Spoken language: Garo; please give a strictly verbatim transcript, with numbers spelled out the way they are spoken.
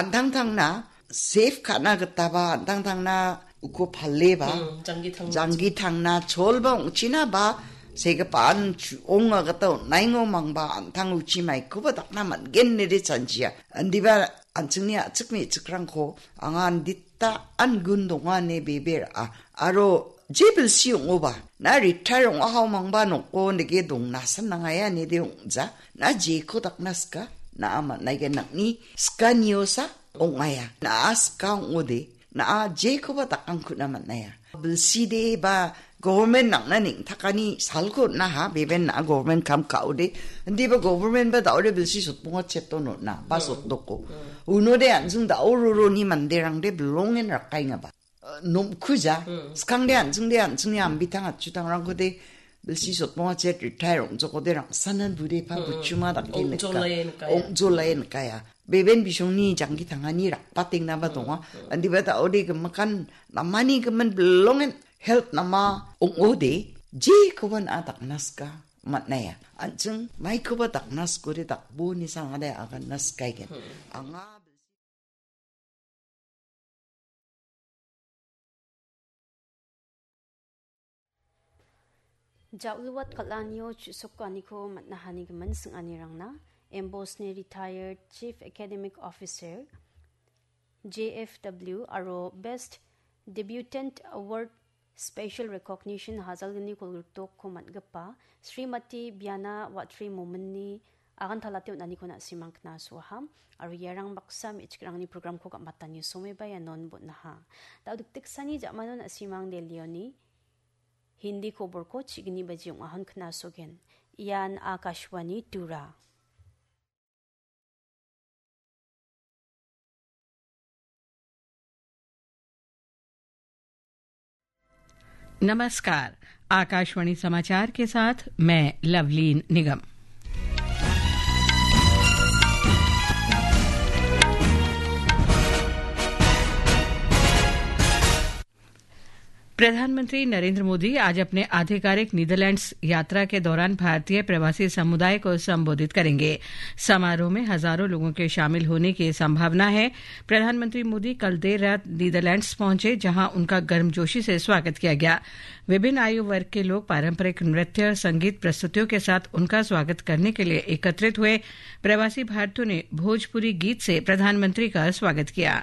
an·tangtangna safe ka·na gitaba an·tangtangna uko paleba, Hmm, janggi tangna. Janggi tangna cholba ong·china ba segipaan chu-, onga gita on·aingo mangba an·tang uchi maikoba dakna man·gen nede chanchia. Indiba an·chingni a·chik me·chikrangko anga andita an gun donga ine bebe ra·a. Aro je bilsi ong·oba, na retire ong·ahao mangba noko nege dongnasan nangaia nede ong·ja. Na jeko dakna sika, na·a man·aigen nang·ni sikaniosa ong·aia. Na·a sika ong·ode, na·a jekoba dakangkuna man·aia. Bilside ba government nang·na neng·takani salko on·aha, beben na·a government kam ka·ode. Indiba government ba da·ode bilsi sotbonga cheton on·a, ba Hmm. sotdoko. Hmm. Unode an·ching da·o roroni manderangde bilongen rakaengaba. Eh, nomkuja, Hmm. Skangde an·chingde an·chingni ambitang atchutangrangkode bilsi sotbonga chet retire ong·jokode rangsanan bude pa Hmm. buchuma dake nika. Ong·jolae nikaia. Ong·jolae nikaia. Beben bisongni jangki tangani rakbatengnaba Hmm. donga. Hmm. Indiba da·ode gimikan namani gimin bilongen health nama ong·ode jekoba na·a dakna sika man·aia. An·ching maikoba dakna sikode dakboni sangade aganna sikaigen. Hmm. Anga Ja·luwat kal·anio chu·sokaniko man·a hanigimin sing·anirangna, M Bosni retired Chief Academic Officer, J F W, aro Best Debutant Award Special Recognition hajalgni kolgriktokko man·gipa Srimati Biana Watri Mominni agantalate on·aniko na·simang knasoaha, aro iarang baksa me·chikrangni programko gam·atani someba ianon bon·aha. Da·o dikdiksani ja·mano na·simang Delhioni Hindi koborko chigni baji ong·ahon knasogen. Ian Akashvani Tura. नमस्कार, आकाशवाणी समाचार के साथ मैं लवलीन निगम। प्रधानमंत्री नरेंद्र मोदी आज अपने आधिकारिक नीदरलैंड्स यात्रा के दौरान भारतीय प्रवासी समुदाय को संबोधित करेंगे। समारोह में हजारों लोगों के शामिल होने की संभावना है। प्रधानमंत्री मोदी कल देर रात नीदरलैंड्स पहुंचे, जहां उनका गर्मजोशी से स्वागत किया गया। विभिन्न आयु वर्ग के लोग पारंपरिक नृत्य और संगीत प्रस्तुतियों के साथ उनका स्वागत करने के लिए एकत्रित हुए। प्रवासी भारतीयों ने भोजपुरी गीत से प्रधानमंत्री का स्वागत किया।